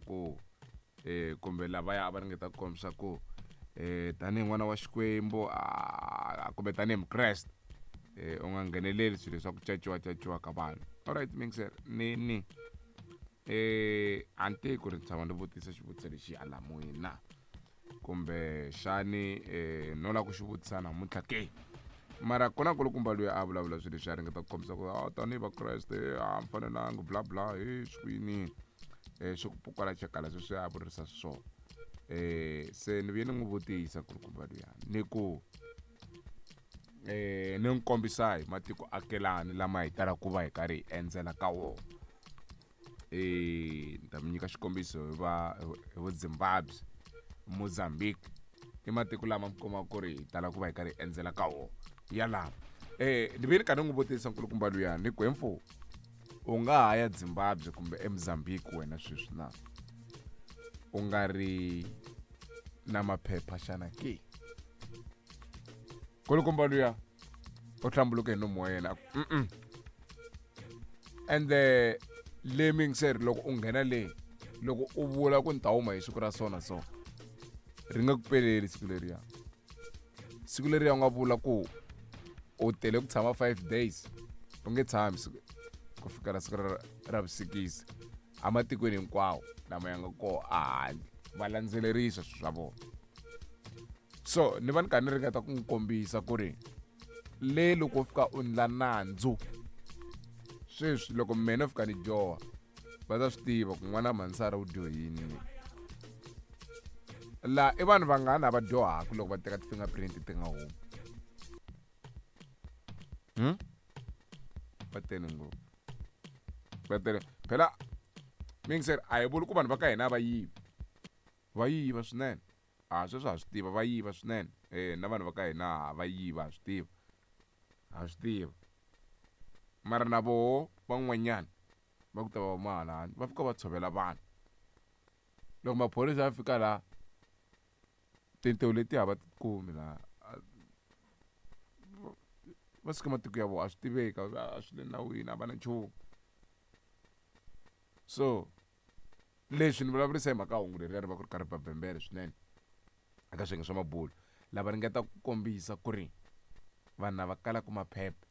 ku kumbe lavaya a va ringeta ku kombisa ku tanihi n'wana wa Xikwembu kumbe tanihi Mukreste u nga ngheneleli swilo swa ku caciwa caciwa ka vanhu. Alright mixer ni ni a ni tivi ku ri ni tshama ni vutisa xivutiso lexi hala moyeni na kumbe xani no lava ku xi vutisa namuntlha ke. Mara ku na nkulukumba loyi a vulavula swilo leswi a ringeta ku kombisa ku a tanihi Vakreste a mi fanelanga bla bla he swi swi ku pukala chakala sweswi a vurisa swona. Se ni vuye ni n'wi vutisa nkulukumba luya ni ku ni n'wi kombisa hi matiko akelani lama hi talaka ku va hi karhi hi endzela ka wona. Ni ta mi nyika xikombiso hi va hi vo Zimbabwe, Mozambique i matiko lama mi kumaka ku ri hi tala ku va hi karhi hi endzela ka wona yalama. Ni vuye ni karhi ni n'wi vutisa nkulukumba luya ni ku he mfo u nga ha ya Zimbabwe kumbe eMozambique wena sweswi na u nga ri na maphepha xana ke? Nkulukumba luya u hlambuluke hi nomu wa yena a ku mm ende le mingiseri loko u nghena le loko u vula ku ni ta huma hi siku ra so na so ri nga ku peleli siku leriya. Siku leriya u nga vula ku u tele ku tshama 5 days u nge tshami ku fikela siku ra vusikisi ematikweni hinkwawo lama ya nga koho ehandle va landzelerisa swilo swa vona. So ni va ni karhi ni ringeta ku n'wi kombisa ku ri le loko u fika u ndla nandzu sweswi loko mina no fika ni dyoha va ta swi tiva ku n'wana Mansara u dyohini. La i vanhu vangani lava dyohaka loko va teka ti-fingerprint ti nga humi? Va tele ngopfu, va tele phela. Mingiseri a hi vuli ku vanhu va ka hina va yivi, va yiva swinene. A sweswo ha swi tiva va yiva swinene na vanhu va ka hina va yiva ha swi tiva, ha swi tiva. Mara na voho van'wanyana va ku ta va huma hala handle va fika va tshovela vanhu. Loko maphorisa ya fika laha tintiho letiya a va ti kumi laha va suka matiko ya vona a swi tiveki a swi le nawini a va na nchumu. So leswi ni vulavurisa hi mhaka hungu leriya ri va ku ri karhi ba bembele swinene eka swiyenge swa mabulo lava ringetaka ku kombisa ku ri vanhu lava kalaka maphepha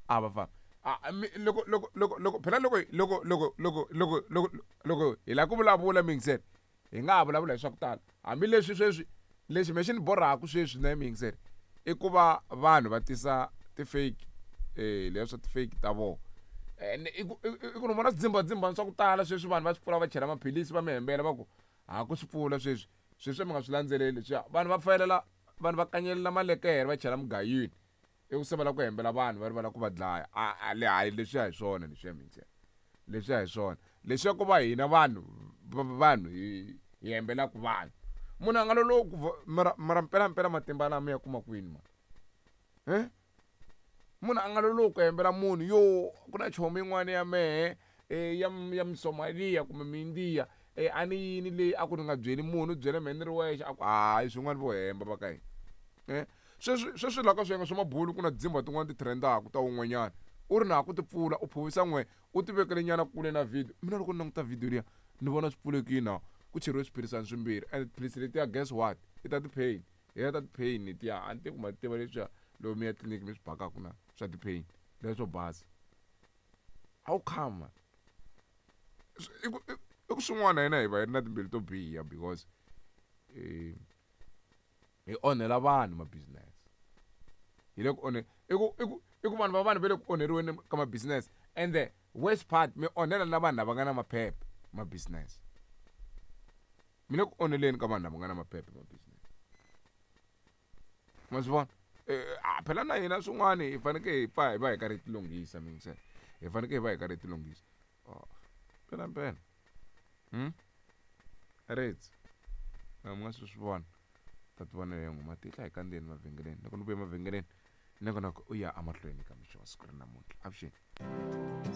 a va famba a mi loko loko loko loko phela loko loko loko loko loko loko loko hi lava ku vulavula miyingiseri hi nga ha vulavula hi swa ku tala hambileswi sweswi lexi me xi ni borhaku sweswi na miyingiseri i ku va vanhu va tisa ti-fake leswi swa ti-fake ta vona. Ene i ku i ku ni vona swidzimbhadzimbhani swa ku tala sweswi vanhu va swi pfula va chela maphilisi va mi hembela va ku ha ku swi pfula sweswi sweswi mi nga swi landzeleli leswiya vanhu va fayelela vanhu va kanyelela malekere va chela mugayweni i ku se va lava ku hembela vanhu va ri va lava ku va dlaya a le hayi leswiya hi swona leswiya mingisela leswiya hi swona leswiya ko va hina vanhu vanhu hi hi hembelaka vanhu munhu a nga lolohi ku mara mara mpelampela matimba lama ya kuma kwini ma munhu a nga lolohi ku hembela munhu yo ku na chomi yin'wana ya mehe ya ya Musomaliya kumbe Muindiya a ni yini leyi a ku ni nga byeli munhu u byele mehe ni ri wexe a ku hayi swin'wana vo hemba va ka hina sweswi sweswi laha ka swiyenge swa mabulu ku na dzimba tin'wana ti trend-aka ta wun'wanyana u ri na ku ti pfula u phuvisa n'we u ti vekele nyana kule na video mina loko ni languta video liya ni vona swi pfulekile na ku cheriwe swiphirisana swimbirhi and tiphilisi letiya guess what i ta ti-pain hi ta ti-pain letiya a ni tivi ku ma tiva leswiya loko mi ya tliliniki mi swi bakaku na swa ti-pain leswo basa how come man i ku i ku swin'wana hina hi va hi ri na timbilu to biha because hi onhela vanhu ma business hi le ku onhe i ku i ku i ku vanhu va vanhu va le ku onheriweni ka ma business and the worst part mi onhela na vanhu lava nga na maphepha ma business mi le ku onheleni ka vanhu lava nga na maphepha ma business ma swi vona a phela na hina swin'wana hi fanekele hi pfa hi va hi karhi hi tilunghisa mingisela hi fanekele hi va hi karhi hi tilunghisa oh mpela mpela ritsi mi nga swi swi vona ta ti vona leyo nghoma tihla hi kandzeni mavhengeleni loko ni vuya emavhengeleni nongonoko u ya emahlweni ka mixo wa siku ra namuntlha avuxeni.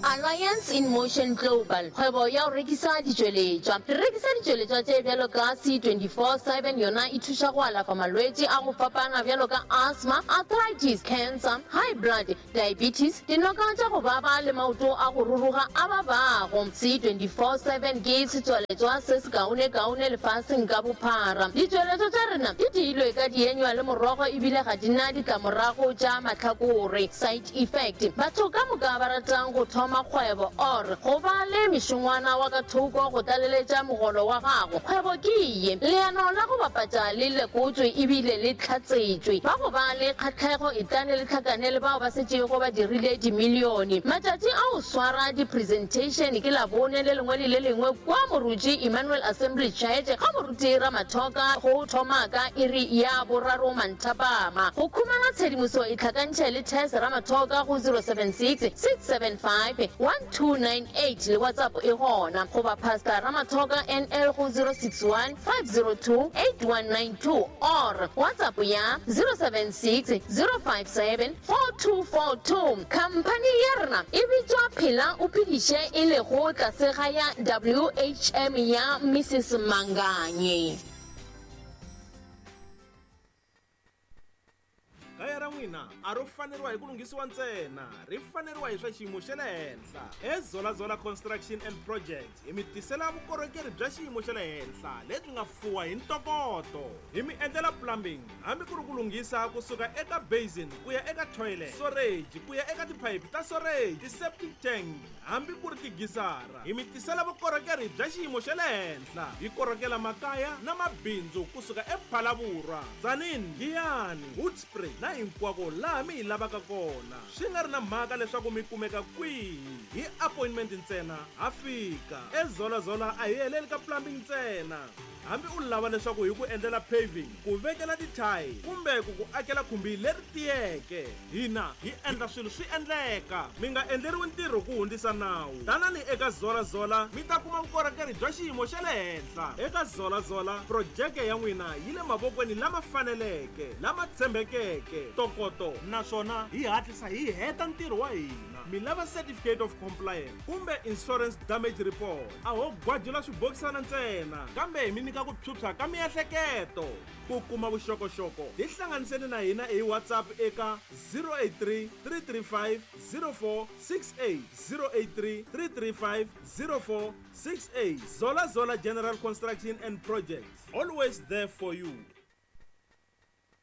Alliance in Motion Global, kgwebo ya go rekisa ditšweletšwa. Re rekisa ditšweletšwa tše bjalo ka C24/7, yona e thuša go alafa malwetši a go fapana bjalo ka asthma, arthritis, cancer, high blood, diabetes, dinoka tša go baba le maoto a go ruruga a babago. C24/7 ke setswaletšwa se sekaonekaone lefaseng ka bophara. Ditšweletšwa tša rena di diilwe ka dienywa le morogo ebile ga di na ditlamorago tša mahlakore, side effect. Batho ka moka ba ratang go thoma kgwebo or go ba le mešongwana wa ka thoko go tlaleletša mogolo wa gago, kgwebo ke ye. Leano la go bapatša le lekotšwe ebile le hlatsetšwe. Ba go ba le kgahlego etlane le hlakane le bao ba setšego ba dirile dimilione. Matšatši a go swara di-presentation ke Labone le lengwe le le lengwe kua Moruti Emmanuel Assembly Church ga Moruti Ramathoka go thoma ka iri ya boraro manthapama. Go khumana tshedimoso itlhakantšhe le Tess Ramathoka go 076 675 1298 le WhatsApp e gona, goba Pastor Ramathoka NL go 061 502 8192 or WhatsApp ya 076 057 4242. Khamphani ya rena e bitšwa Phela o Phediše e lego tlase ga ya WHM ya Mrs Manganye. Kaya ra n'wina a ro faneriwa hi ku lunghisiwa ntsena, ri faneriwa hi swa xiyimo xa le henhla. EZola-Zola Construction and Projects hi mi tisela vukorhokeri bya xiyimo xa le henhla lebyi nga fuwa hi ntokoto. Hi mi endlela plumbing hambi ku ri ku lunghisa ku suka eka basin ku ya eka toilet, soreji ku ya eka tiphayiphi ta soreji, ti-septic tank hambi ku ri tigisara. Hi mi tisela vukorhokeri bya xiyimo xa le henhla. Hi korhokela makaya na mabindzu ku suka ePhalaborwa, Tzaneen, Giyani, Hoedspruit na hinkwako laha mi hi lavaka kona. Swi nga ri na mhaka leswaku mi kumeka kwihi, hi appointment ntsena ha fika. EZola-Zola a hi heleli ka plumbing ntsena. Hambi u lava leswaku hi ku endlela paving, ku vekela ti-tile kumbe ku ku akela khumbi leri tiyeke, hina hi endla swilo swi endleka. Mi nga endleriwi ntirho ku hundzisa nawu. Tanani eka Zola Zola mi ta kuma vukorhokeri bya xiyimo xa le henhla. Eka Zola Zola, projeke ya n'wina yi le mavokweni lama faneleke, lama tshembekeke, ntokoto naswona hi hatlisa hi heta ntirho wa hina. Mi lava Certificate of Compliance kumbe Insurance Damage Report? A ho gwajula swibokisana ntsena, kambe hi mi nyika ku phyuphya ka miehleketo. Ku kuma vuxokoxoko, tihlanganiseni na hina hi WhatsApp eka 083 335 0468, 083 335 0468. Zola Zola General Construction and Projects, always there for you.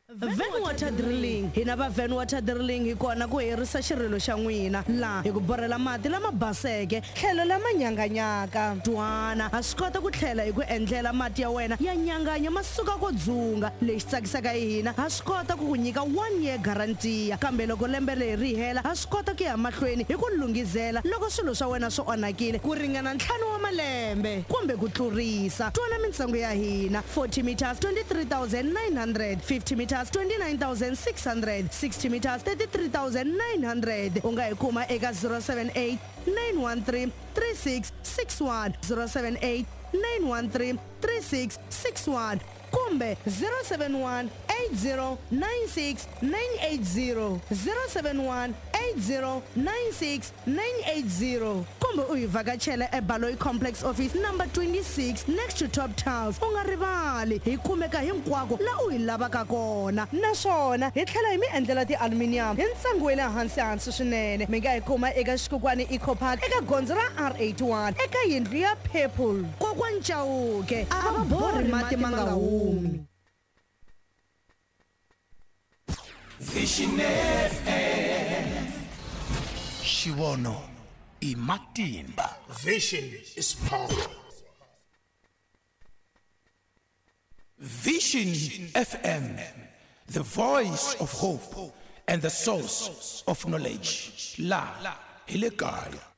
Van Water Drilling. Hina va Van Water Drilling hi kona ku herisa xirilo xa n'wina laha hi ku borhela mati lama baseke tlhelo lama nyanganyaka. Twana, ha swi kota ku tlhela hi ku endlela mati ya wena ya nyanganya ma suka ko dzunga. Lexi tsakisaka hi hina, ha swi kota ku ku nyika one year guarantee, kambe loko lembe leri ri hela ha swi kota ku ya mahlweni hi ku lunghizela loko swilo swa wena swi onhakile ku ringana ntlhanu wa malembe kumbe ku tlurisa. Twana mintsengo ya hina, 40 meters 23900, 50 meters 29600, 60 meters 33900. U nga hi kuma eka 078 913 3661, 078 913 3661 kumbe 071 8096 980, 071 8096 980 kumbe u hi vhakachela eBaloyi Complex Office number 26 next to Top Tiles. U nga rivali, hi kumeka hinkwako la u hi lavaka kona naswona hi tlhela hi mi endlela ti-aluminium hi ntsengo wa le hansi hansi swinene. Mi nga hi kuma eka Xikukwani Eco Park eka gondzo ra R81 eka yindlu ya Purple. Kokwani Chauke a va borhi mati ma nga humi. Vision FM. Xivono i matimba. Vision is power. Vision FM, the voice of hope and the source of knowledge. La hi le kaya.